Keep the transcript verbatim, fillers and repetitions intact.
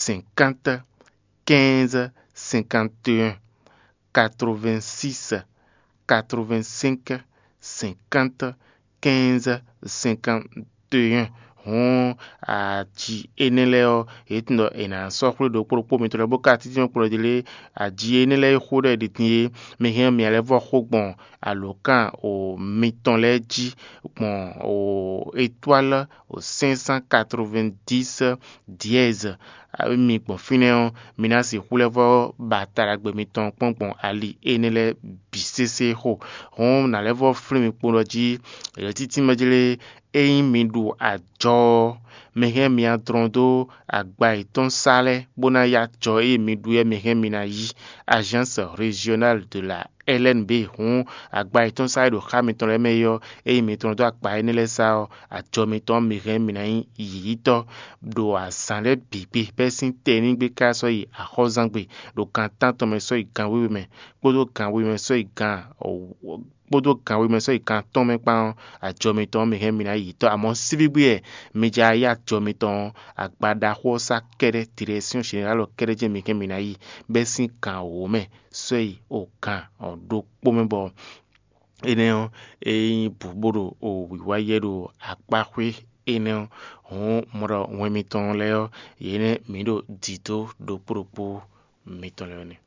cinquante, quinze, cinquante et un, quatre-vingt-six, quatre-vingt-cinq, cinquante, quinze, cinquante et un. Hǔn aji énɛ́ lɛ́ɛ ɔ́, yě tunwun ɖɔ è nǎ sɔ́ xwlé ɖokpó ɖokpó mitɔn lɛ́ɛ bó ka títí nɔ kplɔ́ ɖi lé. Aji énɛ́ lɛ́ɛ e xó ɖɔ è ɖi din é, mi hɛn mǐ lɛ́ vɔ xó gbɔn alǒkan o mitɔn lɛ́ɛ jí gbɔn o étoile o cinq cent quatre-vingt-dix dièse. Mi gbɔn fínɛ́ ɔ́, mi ná sixú lɛ́ vɔ ba taɖagbe mitɔn kpɔ́n gbɔn ali énɛ́ lɛ́ɛ bǐ sésé xo. Hǔn nǎ lɛ́ vɔ flín mi kpo ɖɔ jí, yɛ̌títí mɛ jlé, ényí mi ɖu ajɔ ɔ́, mi hɛn mi adlɔn dó agba yětɔn sá lɛ́ɛ, bó ná yí ajɔ e mi ɖu é, mi hɛn mi ná yí Agence Régionale de la L N B. Hǔn agba yětɔn sá e ɖo xá mitɔn lɛ́ɛ mɛ é ɔ́, ényí mi tlɔ́n dó agba énɛ́ lɛ́ɛ sá ɔ́, ajɔ mitɔn ɔ́, mi hɛn mi ná nyí yǐyítɔ́ ɖo azǎn lɛ́ɛ bǐ gbe bɛ́ sín tɛnígbe ká sɔ́ yi axɔ́zangbe, ɖo gan tántɔn mɛ sɔ́ yi gan wěwe mɛ, kpódó gan we mɛ sɔ́ yi gan kpódó gan we mɛ sɔ́ yi gan atɔ́ɔ́n mɛ kpán ɔ́, ajɔ mitɔn ɔ́, mi hɛn mi ná yi yǐtɔ́. Amɔ̌ síbígbí wɛ mi jɛ ayá ajɔ mitɔn ɔ́, agba ɖaxó ɔ́ sá kɛ́ɖɛ́, Direction Générale ɔ́ kɛ́ɖɛ́ jɛ́n mi hɛn mi ná yi, bɛ́ sín gan wǒ mɛ sɔ́ yi o gan ɖokpó mɛ bɔ énɛ́ ɔ́, é nyí bǔ bó ɖo wǐwá yɛ ɖo akpáxwé énɛ́ ɔ́, hǔn mɔ ɖɔ wɛn mitɔn lɛ́ɛ ɔ́, yě nɛ́ mǐ ɖo dǐdó ɖokpó ɖokpó mitɔn lɛ́ɛ ɔ́ nɛ́.